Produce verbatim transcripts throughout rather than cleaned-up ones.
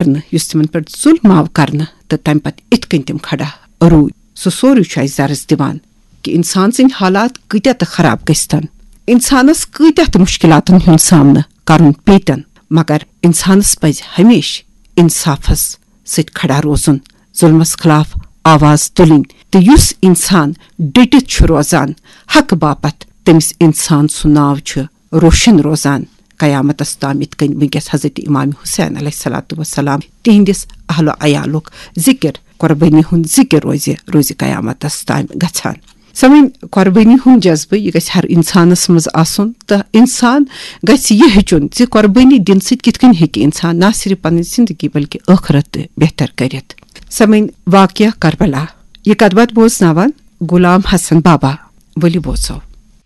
کرنہٕ، یُس تِمن پٮ۪ٹھ ظلم آو کرنہٕ، تہٕ تمہِ پتہٕ اِتھ کٔنۍ تِم کھڑا روٗدۍ۔ سُہ سورُے چھُ اَسہِ درس دِوان کہِ اِنسان سٕنٛدۍ حالات کۭتیاہ تہٕ خراب گٔژھۍ تن، اِنسانس کۭتیاہ تہٕ مُشکِلاتن ہُنٛد سامنہٕ کرُن پیٚیہِ تن، مگر اِنسانس پزِ ہمیشہٕ اِنصافس سۭتۍ کھڑا روزُن، ظلمس خلاف آواز تُلٕنۍ، تہٕ یُس اِنسان ڈٔٹِتھ چھُ روزان حقہٕ باپتھ، تٔمِس اِنسان سُنٛد ناو چھُ روشن روزان قیامتس تام، یِتھ کٔنۍ وٕنکیٚس حضرت امام حسین علیہ الصلوۃ والسلام تِہنٛدِس اہل و عیالُک ذکر، قربٲنی ہُنٛد ذکر روزِ، روزِ قیامتس تام گژھان۔ سمجھ، قربٲنی ہُنٛد جذبہٕ، یہِ گژھِ ہر انسانس منٛز آسُن، تہٕ انسان گژھِ یہِ ہیٚچھُن زِ قربٲنی دِنہٕ سۭتۍ کِتھ کٔنۍ ہیٚکہِ انسان نہ صرف پنٕنۍ زندگی بلکہِ ٲخرت تہِ بہتر کٔرِتھ۔ سمجھ، واقعہ کربلا، یہِ کتھ باتھ بوزناوان غلام حسن بابا، ؤلِو بوزو۔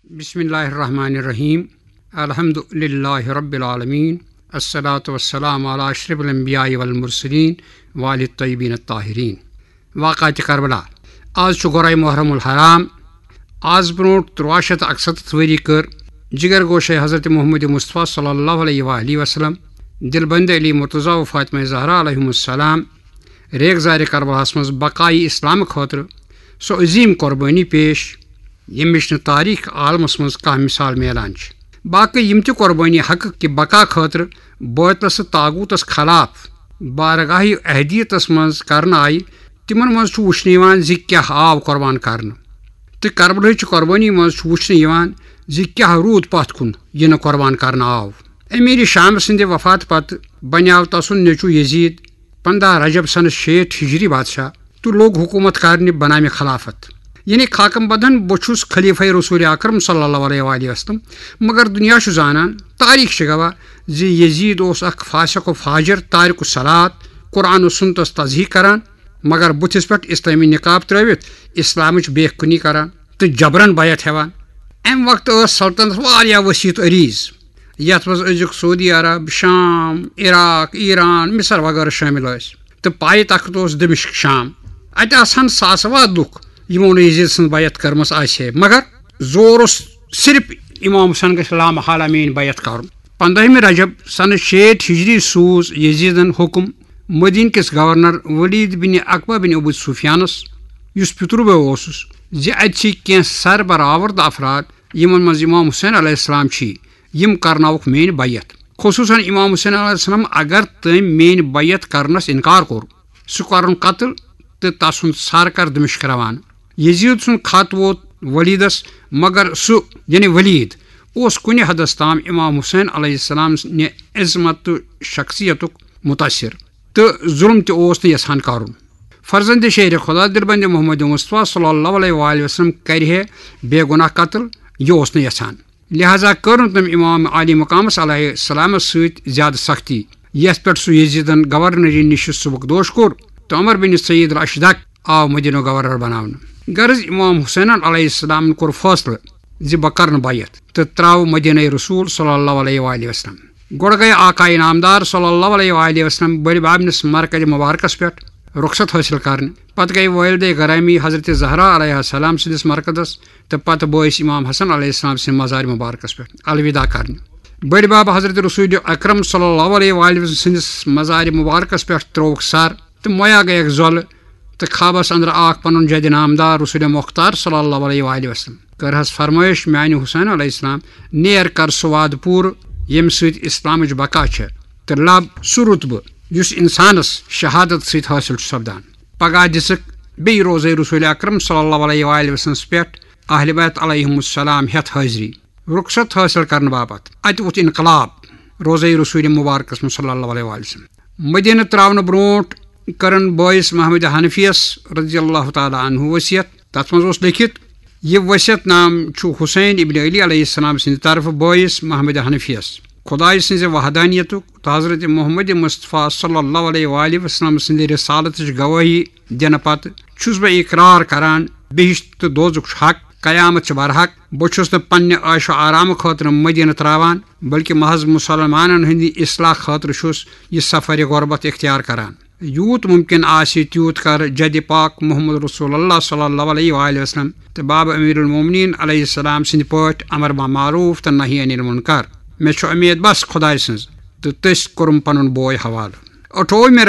بسم اللہ الرحمن الرحیم۔ الحمد للہ رب العالمین۔ الصلاۃ والسلام علی اشرف الانبیاء والمرسلین وآل الطیبین الطاہرین۔ واقعات کربلا۔ آز چھُ گۄرے محرم الحرام۔ آز برونٛٹھ تُرٛواہ شیٚتھ تہٕ اَکسَتَتھ ؤری کٔر جگر گوشے حضرت محمد مصطفیٰ صلی اللہ علیہ وآلہ وسلم، دلبند علی مرتضیٰ و فاطمہ زہرا علیہم السلام ریگزارِ کربلاہس منٛز بقایہِ اسلام خٲطرٕ سۄ عظیٖم قۄربٲنی پیش، ییٚمِچ نہٕ تاریخ عالمس منٛز کانٛہہ مثال میلان چھِ۔ باقٕے یِم تہِ قۄربٲنی حقہٕ کہِ بقا خٲطرٕ بٲطلس تہٕ طاغوٗتس خلاف بارگاہ اہدیتس منٛز کرنہٕ آیہِ، تِمن منٛز چھُ وٕچھنہٕ یِوان زِ کیٛاہ آو قۄربان کرنہٕ، تہٕ کربلہٕچ قۄربٲنی منٛز چھُ وٕچھنہٕ یِوان زِ کیٛاہ روٗد پتھ کُن یہِ نہٕ قۄربان کرنہٕ آو۔ امیر شام سٕنٛدِ وفاتہٕ پتہٕ بنیاو تسُنٛد نیٚچوٗ یزید پنٛداہ رجب سنہٕ شیٹھ ہجری بادشاہ تہٕ لوٚگ حکوٗمت کرنہِ بنامِ خلافت۔ یعنی خاکم بدن بہٕ چھُس خلیفہ رسول اکرم صلی اللہ علیہ وآلہ وسلم، مگر دُنیا چھُ زانان، تاریخ چھِ گواہ زِ یزید اوس اکھ فاسق و فاجر، تارک الصلات، قرآن و سنتس تضحیق کران، مگر بُتھِس پٮ۪ٹھ اسلٲمی نقاب ترٲوِتھ اسلامٕچ بے کُنی کران تہٕ جبرن بیعت ہٮ۪وان۔ امہِ وقتہٕ ٲس سلطنت واریاہ وسیع تہٕ عریٖض، یتھ منٛز أزیُک سعودی عرب، شام، عراق، ایران، مصر وغٲرٕ شٲمِل ٲسۍ، تہٕ پایہِ تخت اوس دمشق، شام۔ اتہِ آسہٕ ہن ساسہٕ واد لُکھ، یِمو نہٕ یزید سٕنٛز بیعت کٔرمٕژ آسہِ ہے، مگر زور اوس صرف امام حسین گژھِ لامحالہ میٲنۍ بیعت کرُن۔ پنٛدٲہمہِ رجب سنہٕ شیٹھ ہجری سوٗز یزیدن حکم مدینہ کِس گورنر ولید بن عقبہ بن ابو سفیانس، یُس پِتُر بوے اوسُس، زِ اتہِ چھِ کینٛہہ سربرآورد افراد، یِمن منٛز امام حسین علیہ السلام چھِ، یِم کرناوُکھ میٲنۍ بیعت۔ خصوصاً امام حسین علیہ السلام، اگر تٔمۍ میٲنۍ بیعت کرنس انکار کوٚر، سُہ کرُن قتل تہٕ تسُنٛد سر کر دمشق روانہٕ۔ یزید سُنٛد خط ووت ولیدس، مگر سُہ، یعنی ولید، اوس کُنہِ حدس تام امام حسین علیہ السلام نہِ عظمت تہٕ شخصیتُک متاثر، تہٕ ظلم تہِ اوس نہٕ یژھان کرُن۔ فرزند شیر خدا دلبند محمد مصطفیٰ صلی اللہ علیہ وآلہ وسلم کرِ ہے بے گناہ قتل، یہِ اوس نہٕ یژھان۔ لہذا کٔر نہٕ تٔمۍ امام عالی مقامس علیہ السلامس سۭتۍ زیادٕ سختی، یتھ پٮ۪ٹھ سُہ یزیدن گورنری نِش سبکدوش کوٚر تہٕ عمر بن سعید الاشدق آو مدینہ گورنر بناونہٕ۔ غرض، امام حسینن علیہ السلامن کوٚر فٲصلہٕ زِ بہٕ کرنہٕ بیعت تہٕ تراوٕ مدینہ رسول صلی اللہ علیہ وآلہ وسلم۔ گۄڈٕ گٔے آقا انعامدار صلی اللہ علیہ وآلہ وسلم بٔڑِ بابنِس مرکز مبارکس پٮ۪ٹھ رخصت حٲصِل کرنہِ۔ پتہٕ گٔے والدہ گرامی حضرت زہرا علیہ السلام سٕنٛدِس مرکزس تہٕ پتہٕ بٲیِس امام حسن علیہ السلام سٕنٛدِ مزار مبارکس پٮ۪ٹھ الوداع کرنہِ۔ بٔڑۍ بب حضرت رسول اکرم صلی اللہ علیہ وآلہ وسلم سٕنٛدِس مزار مبارکس پٮ۪ٹھ ترٛووُکھ سر تہٕ مۄیا گٔیَکھ زۄلہٕ، تہٕ خوابس اندر آکھ پنُن جد نامدار رسول مختار صلی اللہ علیہ وآلہ وسلم۔ کٔرہس فرمٲیش، میانہِ حسین علیہ السلام، نیر کر سُہ وعدٕ پوٗرٕ ییٚمہِ سۭتۍ اسلامٕچ بقا چھےٚ، تہٕ لب سُہ رتبہٕ یُس انسانس شہادت سۭتۍ حٲصِل چھُ سپدان۔ پگاہ دِژٕکھ بیٚیہِ روزے رسول اکرم صلی اللہ علیہ وآلہ وسلمس پٮ۪ٹھ اہل بیت علیہم السلام ہٮ۪تھ حٲضری۔ رخصت حٲصِل کرنہٕ باپتھ اتہِ ووٚتھ انقلاب روزے رسول مبارکس منٛز صلی اللہ علیہ وآلہ وسلم۔ مدینہ تراونہٕ برونٹھ کٔرٕن بٲیِس محمد حنفیس رضی اللہ تعالیٰ عنہ وصیت۔ تتھ منٛز اوس لیکھِتھ، یہِ وصیت نام چھُ حسین ابن علی علیہ السلام سٕنٛدِ طرفہٕ بٲیِس محمد حنفیس۔ خدایہِ سٕنٛزِ وحدانیتُک تہٕ حضرت محمد مصطفیٰ صلی اللہ علیہ وآلہ وسلم سٕنٛدِ رسالتٕچ گوٲہی دِنہٕ پتہٕ چھُس بہٕ اقرار کران، بہشت تہٕ دوزُک چھُ حق، قیامت چھِ برحق۔ بہٕ چھُس نہٕ پننہِ عٲش و آرام خٲطرٕ مدینہ تراوان، بلکہ محض مسلمانن ہٕنٛدِ اصلاح خٲطرٕ چھُس یہِ سفر غربت اختیار کران۔ یوٗت ممکن آسہِ، تیوٗت کر جد پاک محمد رسول اللہ صلی اللہ علیہ وآلہ وسلم تہٕ باب امیر المومنین علیہ السلام سٕنٛدِ پٲٹھۍ امر بالمعروف تہٕ نہی عن المنکر۔ مےٚ چھُ امید بس خدایہِ سٕنٛز، تہٕ تٔسۍ کوٚرُم پنُن بوے حوالہٕ۔ اٹھووُہمہِ